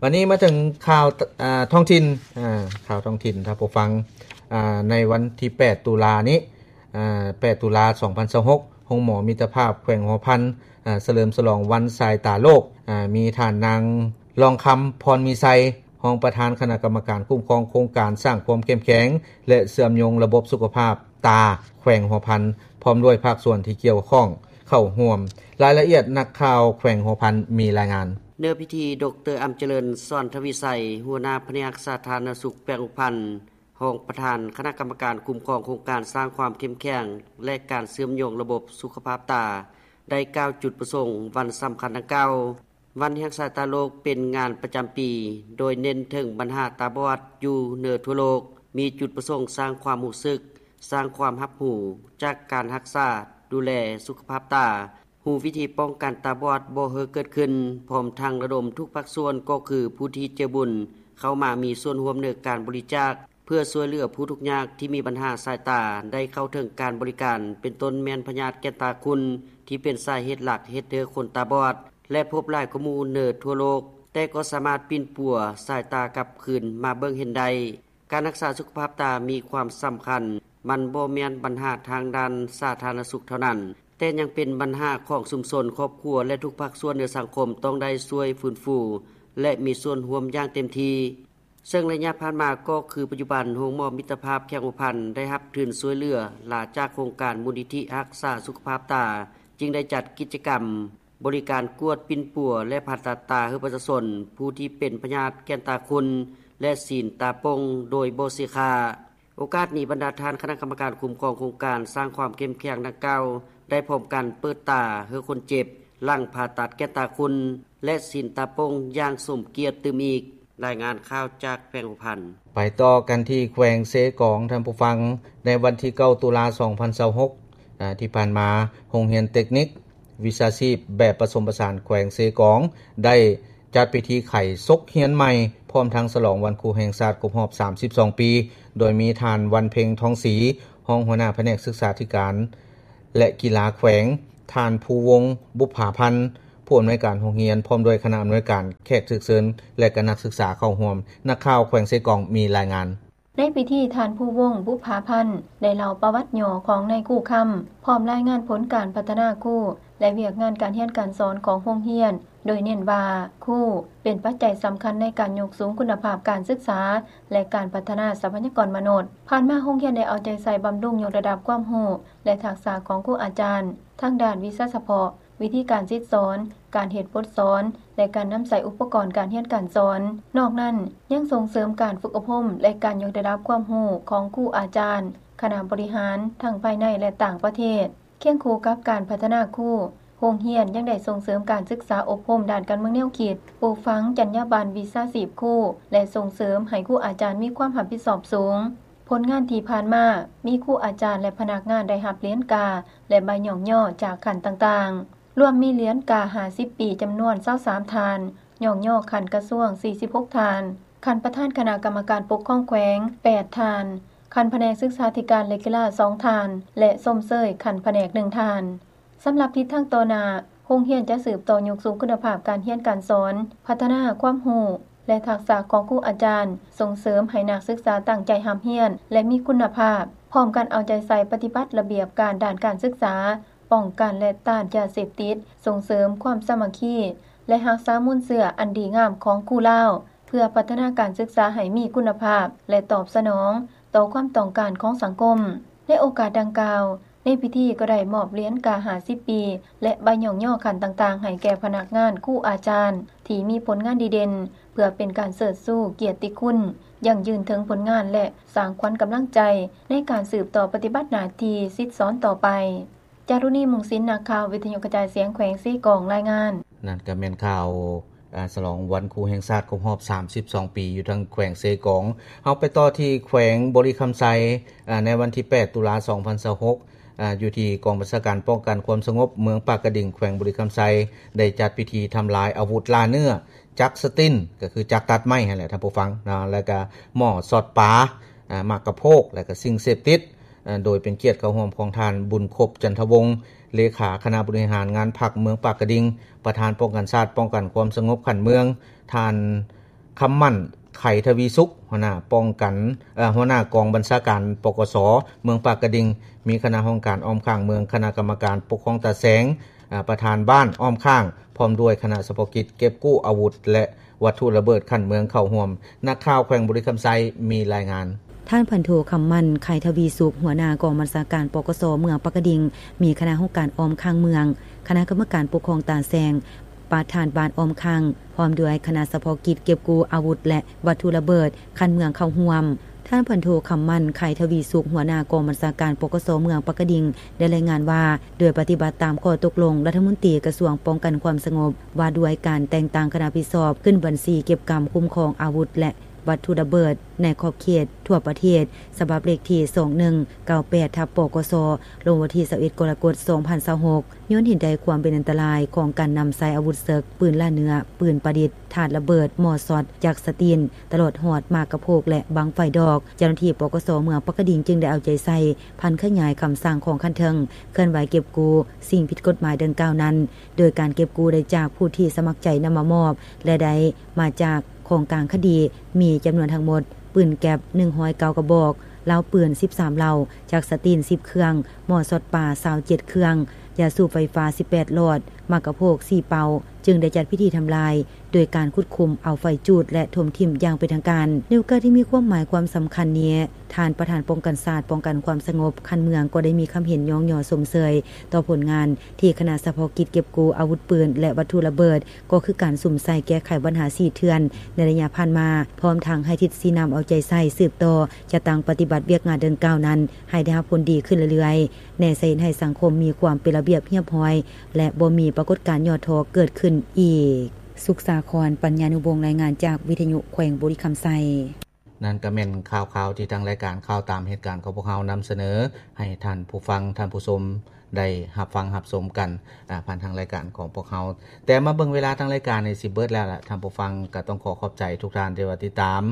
ບັດນີ້ມາເຖິງຂ່າວ, ເອີ, ທ້ອງຖິ່ນ, ເອີ, ຂ່າວທ້ອງຖິ່ນ ທ່ານຜູ້ຟັງ, ເອີ, ໃນວັນທີແປດ ຕຸລານີ້, ອາ ແປດ ຕຸລາ ສອງພັນຊາວຫົກ ໂຮງໝໍມິດຕະພາບແຂວງຫົວພັນ ອາ ສະເຫຼີມສະຫຼອງວັນສາຍຕາໂລກ, ອາ ມີທ່ານນາງ ລອງຄຳ ພອນມີໄຊ ຮອງປະທານຄະນະກຳມະການຄຸ້ມຄອງໂຄງການສ້າງຄວາມເຂັ້ມແຂງ ແລະ ເຊື່ອມໂຍງລະບົບສຸຂະພາບຕາແຂວງຫົວພັນ ພ້ອມດ້ວຍພາກສ່ວນທີ່ກ່ຽວຂ້ອງເຂົ້າຮ່ວມ. ລາຍລະອຽດ ນັກຂ່າວແຂວງຫົວພັນມີລາຍງານ. ເນື້ອພິທີ ດຣ ອຳຈະເລີນ ສອນທະວິໄຊ ຫົວໜ້າພະແນກສາທາລະນະສຸກແຂວງຫົວພັນ ຮອງປະທານຄະນະກຳມະການຄຸ້ມຄອງໂຄງການສ້າງຄວາມເຂັ້ມແຂງ ແລະ ການເຊື່ອມໂຍງລະບົບສຸຂະພາບຕາ ໄດ້ກ່າວຈຸດປະສົງວັນສຳຄັນດັ່ງກ່າວ. ວັນແຫ່ງສາຍຕາໂລກເປັນງານປະຈຳປີ ໂດຍເນັ້ນເຖິງບັນຫາຕາບອດຢູ່ເໜືອທົ່ວໂລກ, ມີຈຸດປະສົງສ້າງຄວາມຮູ້ສຶກ, ສ້າງຄວາມຮັບຮູ້ຈາກການຮັກສາດູແລສຸຂະພາບຕາ, ຮູ້ວິທີປ້ອງກັນຕາບອດບໍ່ໃຫ້ເກີດຂຶ້ນ, ພ້ອມທັງລະດົມທຸກພາກສ່ວນ ກໍຄືຜູ້ທີ່ໃຈບຸນ ເຂົ້າມາມີສ່ວນຮ່ວມໃນການບໍລິຈາກ ເພື່ອຊ່ວຍເຫຼືອຜູ້ທຸກຍາກທີ່ມີບັນຫາສາຍຕາໄດ້ເຂົ້າເຖິງການບໍລິການ, ເປັນຕົ້ນແມ່ນພະຍາດແກ່ນຕາຂຸ່ນ ທີ່ເປັນສາເຫດຫຼັກເຮັດໃຫ້ຄົນຕາບອດ ແລະ ພົບຫຼາຍກວ່າໝູ່ເໜືອທົ່ວໂລກ, ແຕ່ກໍສາມາດປິ່ນປົວສາຍຕາກັບຄືນມາເບິ່ງເຫັນໄດ້. ການຮັກສາສຸຂະພາບຕາມີຄວາມສຳຄັນ, ມັນບໍ່ແມ່ນບັນຫາທາງດ້ານສາທາລະນະສຸກເທົ່ານັ້ນ, ແຕ່ຍັງເປັນບັນຫາຂອງຊຸມຊົນ, ຄອບຄົວ ແລະ ທຸກພາກສ່ວນໃນສັງຄົມຕ້ອງໄດ້ຊ່ວຍຟື້ນຟູ ແລະ ມີສ່ວນຮ່ວມຢ່າງເຕັມທີ່. ເຊິ່ງໄລຍະຜ່ານມາກໍຄືປັດຈຸບັນ ໂຮງໝໍມິດຕະພາບແຂວງຫົວພັນໄດ້ຮັບທຶນຊ່ວຍເຫຼືອຫຼາຈາກໂຄງການມູນນິທິຮັກສາສຸຂະພາບຕາ, ຈຶ່ງໄດ້ຈັດກິດຈະກຳບໍລິການກວດປິ່ນປົວ ແລະ ຜ່າຕັດຕາໃຫ້ປະຊາຊົນຜູ້ທີ່ເປັນພະຍາດແກ່ນຕາຂຸ່ນ ແລະ ສີນຕາປົ່ງໂດຍບໍ່ເສຍຄ່າ. ໂອກາດນີ້ ບັນດາທ່ານຄະນະກຳມະການຄຸ້ມຄອງໂຄງການສ້າງຄວາມເຂັ້ມແຂງດັ່ງກ່າວ ໄດ້ພ້ອມກັນເປີດຕາໃຫ້ຄົນເຈັບ ຫຼັງຜ່າຕັດແກ່ນຕາຂຸ່ນ ແລະ ສີນຕາປົ່ງຢ່າງສົມກຽດຕື່ມອີກ. ລາຍງານຂ່າວຈາກແຂວງຫົວພັນ. ໄປຕໍ່ກັນທີ່ແຂວງເຊກອງ, ທ່ານຜູ້ຟັງ, ໃນວັນທີເກົ້າ ຕຸລາ ສອງພັນຊາວຫົກ ອາ ທີ່ຜ່ານມາ, ໂຮງຮຽນເຕັກນິກວິຊາຊີບແບບປະສົມປະສານແຂວງເຊກອງ ໄດ້ຈັດພິທີໄຂສົກຮຽນໃໝ່ ພ້ອມທັງສະຫຼອງວັນຄູແຫ່ງຊາດຄົບຮອບສາມສິບສອງປີ, ໂດຍມີທ່ານ ວັນເພັງ ທອງສີ ຮອງຫົວໜ້າພະແນກສຶກສາທິການ ແລະ ກິລາແຂວງ, ທ່ານ ພູວົງ ບຸບຜາພັນ ຜູ້ອຳນວຍການໂຮງຮຽນ ພ້ອມດ້ວຍຄະນະອຳນວຍການ, ແຂກຖືກເຊີນ ແລະ ກະນັກສຶກສາເຂົ້າຮ່ວມ. ນັກຂ່າວແຂວງເຊກອງມີລາຍງານ. ໃນພິທີ ທ່ານ ພູວົງ ບຸບຜາພັນ ໄດ້ເລົ່າປະຫວັດຫຍໍ້ຂອງນາຍຄູຄຳ ພ້ອມລາຍງານຜົນການພັດທະນາຄູ ແລະ ວຽກງານການຮຽນການສອນຂອງໂຮງຮຽນ, ໂດຍເນັ້ນວ່າ ຄູເປັນປັດໄຈສຳຄັນໃນການຍົກສູງຄຸນນະພາບການສຶກສາ ແລະ ການພັດທະນາຊັບພະຍາກອນມະນຸດ. ຜ່ານມາໂຮງຮຽນໄດ້ເອົາໃຈໃສ່ບຳລຸງຍົກລະດັບຄວາມຮູ້ ແລະ ທັກສະຂອງຄູອາຈານ ທັງດ້ານວິຊາສະເພາະ, ວິທີການສິດສອນ, ການເຮັດບົດສອນ ແລະ ການນຳໃຊ້ອຸປະກອນການຮຽນການສອນ. ນອກນັ້ນ, ຍັງສົ່ງເສີມການຝຶກອົບຮົມ ແລະ ການຍົກລະດັບຄວາມຮູ້ຂອງຄູອາຈານ, ຄະນະບໍລິຫານ ທັງພາຍໃນ ແລະ ຕ່າງປະເທດ. ຄຽງຄູ່ກັບການພັດທະນາຄູ, ໂຮງຮຽນຍັງໄດ້ສົ່ງເສີມການສຶກສາອົບຮົມດ້ານການເມືອງແນວຄິດ, ປູກຝັງຈັນຍາບັນວິຊາຊີບຄູ ແລະ ສົ່ງເສີມໃຫ້ຄູອາຈານມີຄວາມຮັບຜິດຊອບສູງ. ຜົນງານທີ່ຜ່ານມາ, ມີຄູອາຈານ ແລະ ພະນັກງານໄດ້ຮັບຫຼຽນກາ ແລະ ໃບຍ້ອງຍໍຈາກຂັ້ນຕ່າງໆ, ລວມມີຫຼຽນກາຫ້າສິບປີຈຳນວນຊາວສາມທ່ານ, ຍ້ອງຍໍຂັ້ນກະຊວງສີ່ສິບຫົກທ່ານ, ຂັ້ນປະທານຄະນະກຳມະການປົກຄອງແຂວງແປດທ່ານ, ຂັ້ນພະແນກສຶກສາທິການ ແລະ ກິລາສອງທ່ານ ແລະ ຊົມເຊີຍຂັ້ນພະແນກໜຶ່ງທ່ານ. ສຳລັບທິດທາງຕໍ່ໜ້າ, ໂຮງຮຽນຈະສືບຕໍ່ຍົກສູງຄຸນນະພາບການຮຽນການສອນ, ພັດທະນາຄວາມຮູ້ ແລະ ທັກສະຂອງຄູອາຈານ, ສົ່ງເສີມໃຫ້ນັກສຶກສາຕັ້ງໃຈຮ່ຳຮຽນ ແລະ ມີຄຸນນະພາບ, ພ້ອມກັນເອົາໃຈໃສ່ປະຕິບັດລະບຽບການດ້ານການສຶກສາ, ປ້ອງກັນ ແລະ ຕ້ານຢາເສບຕິດ, ສົ່ງເສີມຄວາມສາມັກຄີ ແລະ ຮັກສາມູນເຊື້ອອັນດີງາມຂອງຄູລາວ, ເພື່ອພັດທະນາການສຶກສາໃຫ້ມີຄຸນນະພາບ ແລະ ຕອບສະໜອງຕໍ່ຄວາມຕ້ອງການຂອງສັງຄົມ. ໃນໂອກາດດັ່ງກ່າວ, ໃນພິທີກໍໄດ້ມອບຫຼຽນກາຫ້າສິບປີ ແລະ ໃບຍ້ອງຍໍຂັ້ນຕ່າງໆ ໃຫ້ແກ່ພະນັກງານ, ຄູອາຈານທີ່ມີຜົນງານດີເດັ່ນ, ເພື່ອເປັນການເຊີດຊູກຽດຕິຄຸນ, ຢັ້ງຢືນເຖິງຜົນງານ ແລະ ສ້າງຂວັນກຳລັງໃຈໃນການສືບຕໍ່ປະຕິບັດໜ້າທີ່ສິດສອນຕໍ່ໄປ. ຈາລຸນີ ມຸງສິນ, ນັກຂ່າວວິທະຍຸກະຈາຍສຽງແຂວງເຊກອງ ລາຍງານ. ນັ້ນກໍແມ່ນຂ່າວ ອາ ສະຫຼອງວັນຄູແຫ່ງຊາດຄົບຮອບສາມສິບສອງປີ ຢູ່ທາງແຂວງເຊກອງ. ເຮົາໄປຕໍ່ທີ່ແຂວງບໍລິຄຳໄຊ, ອາ ໃນວັນທີແປດ ຕຸລາ ສອງພັນຊາວຫົກ, ອາ ຢູ່ທີ່ກອງບັນຊາການປ້ອງກັນຄວາມສະຫງົບເມືອງປາກກະດິງ ແຂວງບໍລິຄຳໄຊ ໄດ້ຈັດພິທີທຳລາຍອາວຸດລ່າເນື້ອ ຈັກສະຕິນ ກໍຄືຈັກຕັດໄມ້ຫັ້ນແຫຼະທ່ານຜູ້ຟັງເນາະ, ແລ້ວກະໝໍ້ຊອດປາ, ອາ ໝາກກະໂພກ ແລ້ວກະສິ່ງເສບຕິດ, ອາ ໂດຍເປັນກຽດເຂົ້າຮ່ວມຂອງທ່ານ ບຸນຄົບ ຈັນທະວົງ ເລຂາຄະນະບໍລິຫານງານພັກເມືອງປາກກະດິງ, ປະທານປ້ອງກັນຊາດ ປ້ອງກັນຄວາມສະຫງົບຂັ້ນເມືອງ, ທ່ານ ຄຳໝັ້ນ ໄຂທະວີສຸກ ຫົວໜ້າປ້ອງກັນ, ເອີ ຫົວໜ້າກອງບັນຊາການ ປກສ ເມືອງປາກກະດິງ, ມີຄະນະຫ້ອງການອ້ອມຂ້າງເມືອງ, ຄະນະກຳມະການປົກຄອງຕາແສງ, ອາ ປະທານບ້ານອ້ອມຂ້າງ, ພ້ອມດ້ວຍຄະນະສະເພາະກິດເກັບກູ້ອາວຸດ ແລະ ວັດຖຸລະເບີດຂັ້ນເມືອງເຂົ້າຮ່ວມ. ນັກຂ່າວແຂວງບໍລິຄຳໄຊມີລາຍງານ. ທ່ານພັນໂທ ຄຳໝັ້ນ ໄຂທະວີສຸກ ຫົວໜ້າກອງບັນຊາການ ປກສ ເມືອງປາກກະດິງ, ມີຄະນະຫ້ອງການອ້ອມຂ້າງເມືອງ, ຄະນະກຳມະການປົກຄອງຕາແສງ, ປະທານບ້ານອ້ອມຂ້າງ ພ້ອມດ້ວຍຄະນະສະເພາະກິດເກັບກູ້ອາວຸດ ແລະ ວັດຖຸລະເບີດຂັ້ນເມືອງເຂົ້າຮ່ວມ. ທ່ານພັນໂທ ຄຳໝັ້ນ ໄຂທະວີສຸກ ຫົວໜ້າກອງບັນຊາການ ປກສ ເມືອງປາກກະດິງ ໄດ້ລາຍງານວ່າ ໂດຍປະຕິບັດຕາມຂໍ້ຕົກລົງລັດຖະມົນຕີກະຊວງປ້ອງກັນຄວາມສະຫງົບ ວ່າດ້ວຍການແຕ່ງຕັ້ງຄະນະຮັບຜິດຊອບຂຶ້ນບັນຊີເກັບກຳຄຸ້ມຄອງອາວຸດ ແລະ ວັດຖຸລະເບີດໃນຂອບເຂດທົ່ວປະເທດ ສະບັບເລກທີສອງໜຶ່ງເກົ້າແປດ ທັບ ປກສ ລົງວັນທີຊາວເອັດ ກໍລະກົດ ສອງພັນຊາວຫົກ ຍ້ອນເຫັນໄດ້ຄວາມເປັນອັນຕະລາຍຂອງການນຳໃຊ້ອາວຸດເສິກ, ປືນລ່າເນື້ອ, ປືນປະດິດ, ຖາດລະເບີດ, ໝໍ້ຊອດ, ຈັກສະຕິນ, ຕະຫຼອດຮອດໝາກກະໂພກ ແລະ ບັ້ງໄຟດອກ. ເຈົ້າໜ້າທີ່ ປກສ ເມືອງປາກກະດິງ ຈຶ່ງໄດ້ເອົາໃຈໃສ່ຜັນຂະຫຍາຍຄຳສັ່ງຂອງຂັ້ນເທິງ, ເຄື່ອນໄຫວເກັບກູ້ສິ່ງຜິດກົດໝາຍດັ່ງກ່າວນັ້ນ, ໂດຍການເກັບກູ້ໄດ້ຈາກຜູ້ທີ່ສະໝັກໃຈນຳມາມອບ ແລະ ໄດ້ມາຈາກຂອງກາງຄະດີ ມີຈຳນວນທັງໝົດ ປືນແກັບ ໜຶ່ງຮ້ອຍເກົ້າກະບອກ, ເລົາປືນ ສິບສາມເລົາ, ຈັກສະຕິນ ສິບເຄື່ອງ, ໝໍ້ຊອດປາ ຊາວເຈັດເຄື່ອງ, ຢາສູບໄຟຟ້າ ສິບແປດຫຼອດ, ໝາກກະໂພກ ສີ່ເປົາ, ຈຶ່ງໄດ້ຈັດພິທີທຳລາຍ ໂດຍການຂຸດຂຸມເອົາໄຟຈູດ ແລະ ຖົມຖິ້ມຢ່າງເປັນທາງການ. ໃນໂອກາດທີ່ມີຄວາມໝາຍຄວາມສຳຄັນນີ້, ທ່ານປະທານປ້ອງກັນຊາດ ປ້ອງກັນຄວາມສະຫງົບຂັ້ນເມືອງ ກໍໄດ້ມີຄຳເຫັນຍ້ອງຍໍຊົມເຊີຍຕໍ່ຜົນງານທີ່ຄະນະສະເພາະກິດເກັບກູ້ອາວຸດປືນ ແລະ ວັດຖຸລະເບີດ ກໍຄືການສຸມໃສ່ແກ້ໄຂບັນຫາສີ່ເຖື່ອນໃນໄລຍະຜ່ານມາ, ພ້ອມທັງໃຫ້ທິດຊີ້ນຳເອົາໃຈໃສ່ສືບຕໍ່ຈັດຕັ້ງປະຕິບັດວຽກງານດັ່ງກ່າວນັ້ນໃຫ້ໄດ້ຮັບຜົນດີຂຶ້ນເລື້ອຍໆ, ແນໃສ່ເຮັດໃຫ້ສັງຄົມມີຄວາມເປັນລະບຽບຮຽບຮ້ອຍ ແລະ ບໍ່ມີປາກົດການຫຍໍ້ທໍ້ເກີດຂຶ້ນອີກ. ສຸກສາຄອນ ປັນຍານຸວົງ ລາຍງານຈາກວິທະຍຸແຂວງບໍລິຄຳໄຊ. ນັ້ນກໍແມ່ນຂ່າວຄາວທີ່ທາງລາຍການຂ່າວຕາມເຫດການຂອງພວກເຮົານຳສະເໜີໃຫ້ທ່ານຜູ້ຟັງ, ທ່ານຜູ້ຊົມ ໄດ້ຮັບຟັງຮັບຊົມກັນ ອາ ຜ່ານທາງລາຍການຂອງພວກເຮົາ. ແຕ່ມາເບິ່ງເວລາທາງລາຍການນີ້ຊິເບິດແລ້ວລະ ທ່ານຜູ້ຟັງ, ກໍຕ້ອງຂໍຂອບໃຈທຸກທ່ານທີ່ວ່າຕິດຕາມ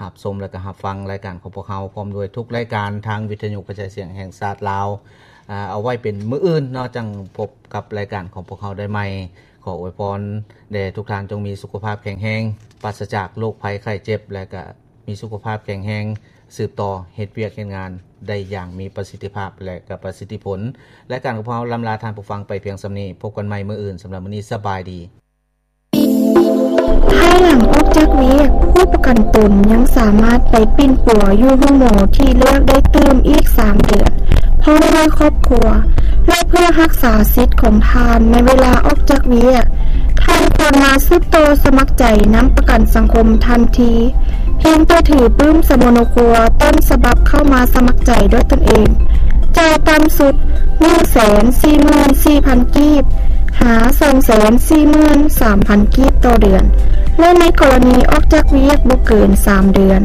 ຮັບຊົມ ແລະ ກໍຮັບຟັງລາຍການຂອງພວກເຮົາ ພ້ອມດ້ວຍທຸກລາຍການທາງວິທະຍຸກະຈາຍສຽງແຫ່ງຊາດລາວ. ອາ ເອົາໄວ້ເປັນມື້ອື່ນເນາະ ຈັ່ງພົບກັບລາຍການຂອງພວກເຮົາໄດ້ໃໝ່. ຂໍອວຍພອນແດ່ທຸກທ່ານ ຈົ່ງມີສຸຂະພາບແຂງແຮງ, ປາສະຈາກໂລກໄພໄຂ້ເຈັບ ແລະ ກະ ມີສຸຂະພາບແຂງແຮງ ສືບຕໍ່ເຮັດວຽກເຮັດງານໄດ້ຢ່າງມີປະສິດທິພາບ ແລະ ກະປະສິດທິຜົນ. ລາຍການຂອງເຮົາລຳລາທ່ານຜູ້ຟັງໄປພຽງສ່ຳນີ້. ພົບກັນໃໝ່ມື້ອື່ນ. ສຳລັບມື້ນີ້ ສະບາຍດີ. ພາຍຫຼັງອອກຈາກວຽກ, ຜູ້ປະກັນຕົນຍັງສາມາດໄປປິ່ນປົວຢູ່ໂຮງໝໍທີ່ເລືອກໄດ້ຕື່ມອີກສາມເດືອນ, ພ້ອມດ້ວຍຄອບຄົວ ແລະ ເພື່ອຮັກສາສິດຂອງທ່ານໃນເວລາອອກຈາກວຽກ, ທ່ານຄວນມາສືບຕໍ່ສະໝັກໃຈນຳປະກັນສັງຄົມທັນທີ. ພຽງແຕ່ຖືປຶ້ມສະໂມໂນຄົວຕົ້ນສະບັບເຂົ້າມາສະໝັກໃຈດ້ວຍຕົນເອງ, ຈ່າຍຕ່ຳສຸດ ໜຶ່ງແສນສີ່ໝື່ນສີ່ພັນກີບ ຫາ ສອງແສນສີ່ໝື່ນສາມພັນກີບຕໍ່ເດືອນ ແລະ ໃນກໍລະນີອອກຈາກວຽກບໍ່ເກີນສາມເດືອນ,